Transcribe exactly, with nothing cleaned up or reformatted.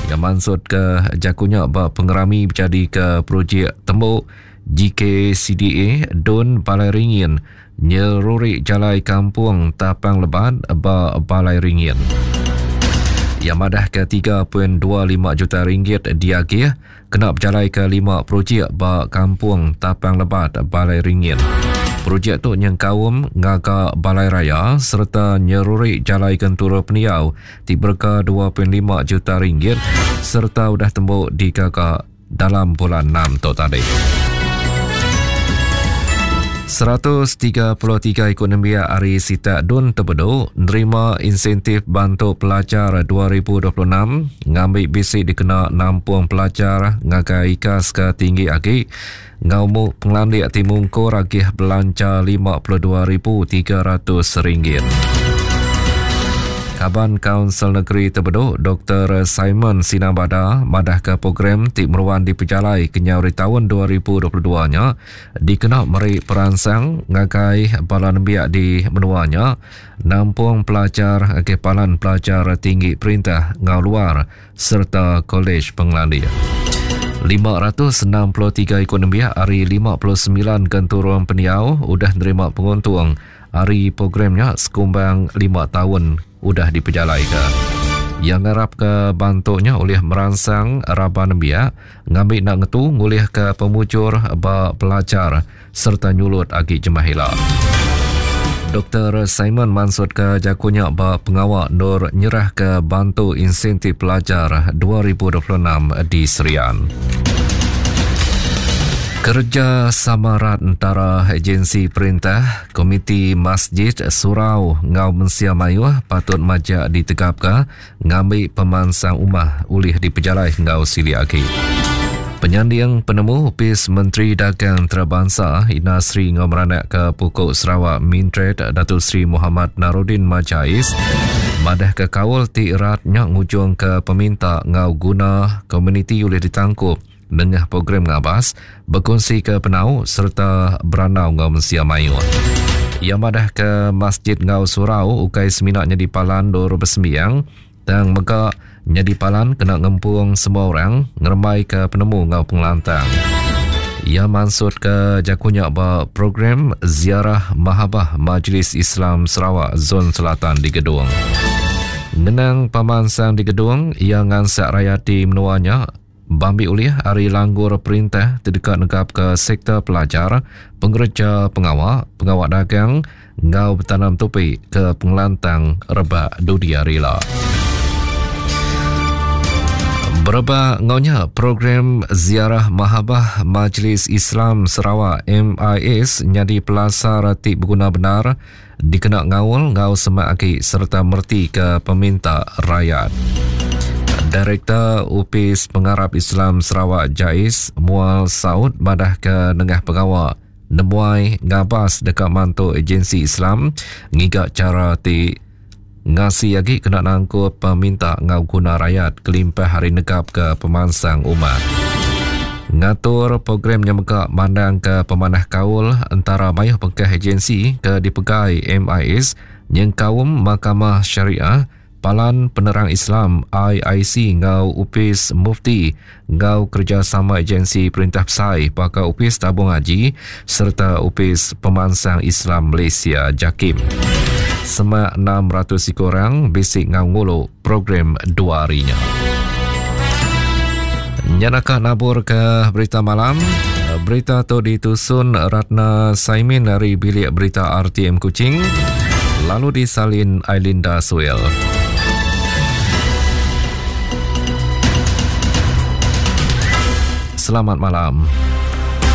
Yang mansut ke jakunya ba pengerami berjadi ke projek tembuk G K C D A Dun Balai Ringin nyeruri jalai kampung Tapang Lebat ba Balai Ringin. Yang madah ke tiga perpuluhan dua lima juta ringgit diagih kena berjalai ke lima projek ba kampung Tapang Lebat Balai Ringin. Projek tu nyengkaum ngaga balai raya serta nyeruri jalai kentura peniau ti berega dua perpuluhan lima juta ringgit serta udah tembuk digaga dalam bulan enam tu tadi. seratus tiga puluh tiga ikut nembiak ari Sitak Dun Tebedu nerima insentif bantu pelajar dua ribu dua puluh enam ngambi bisi dikena nampung pelajar ngagai ikas ke tinggi agi ngaumu pengelandik ti mungkur agih belanja lima puluh dua ribu tiga ratus ringgit. Kaban Kaunsil Negeri Tebedu Doktor Simon Sinabada madah ke program ti meruan dipejalai kenyau dari tahun dua ribu dua puluh dua nya dikena meri peransang ngagai bala nembiak di menuanya nampung pelajar ke palan pelajar tinggi perintah ngau luar serta kolej pengelandik. lima ratus enam puluh tiga ikut nembiak hari lima puluh sembilan genturung peniau udah nerima penguntung hari programnya sekumbang lima tahun udah dipejalai ke. Yang ngarap ke bantuknya oleh meransang raban nembiak ngambil nak ngetu ngulih ke pemujur ba pelajar serta nyulut agi jemah ila. Doktor Simon mansut ke jakunya ba pengawak Nur nyerah ke bantu insentif pelajar dua ribu dua puluh enam di Serian. Kerja sama rat antara agensi perintah, Komiti Masjid Surau ngau Mensia Mayuh patut majak ditegapka ngambil pemansang umah ulih dipejalai ngau sili agi. Penyanding penemu Upis Menteri Dagang Antarabangsa Ina Sri ngau meranak ke Pukuk Sarawak Mintred Datuk Seri Muhammad Narodin Majais madah ke kaul ti eratnya ngujung ke peminta ngau guna komuniti ulih ditangkup nengah program ngabas berkongsi ke penau serta beranau ngau mensia mayuh. Ia madah ke Masjid Ngau Surau ukai seminaknya di Palan Dor Bersembiang tang mega nyadi palan kena ngempung semua orang ngerembai ke penemu ngau pengelantang. Ia mansut ke jakunya ba program Ziarah Mahabah Majlis Islam Sarawak Zon Selatan di Gedung. Ngenang pemansang di Gedung, ia ngansak rakyat di menuanya bambi ulih hari langgur perintah terdekat negap ke sektor pelajar, pengerja pengawak, pengawak dagang, ngau bertanam topi ke pengelantang rebak dunia rila. Berebak ngaunya program Ziarah Mahabah Majlis Islam Sarawak M I S nyadi pelasar ti berguna benar dikena ngaul ngau semak agi serta merti ke peminta rakyat. Direktur Upis Pengarap Islam Sarawak Jais Mual Saud madah ke nengah pengawak nemuai ngabas dekat mantu agensi Islam ngiga cara ti ngasi lagi kena nangkup peminta ngau guna rakyat kelimpah hari negap ke pemansang umat. Ngatur program nyemegak mandang ke pemanah kaul antara mayuh pengkah agensi ke dipegai M I S nyengkaum Mahkamah Syariah, Palan Penerang Islam I I C ngau Upis Mufti ngau kerjasama agensi Perintah Besai pakar Upis Tabung Haji serta Upis Pemansang Islam Malaysia Jakim. Semak enam ratus orang bisik ngau ngulu program dua harinya. Nyanaka nabur ke berita malam. Berita tu ditusun Ratna Saimin dari Bilik Berita R T M Kuching, lalu disalin Ailinda Suel. Selamat malam.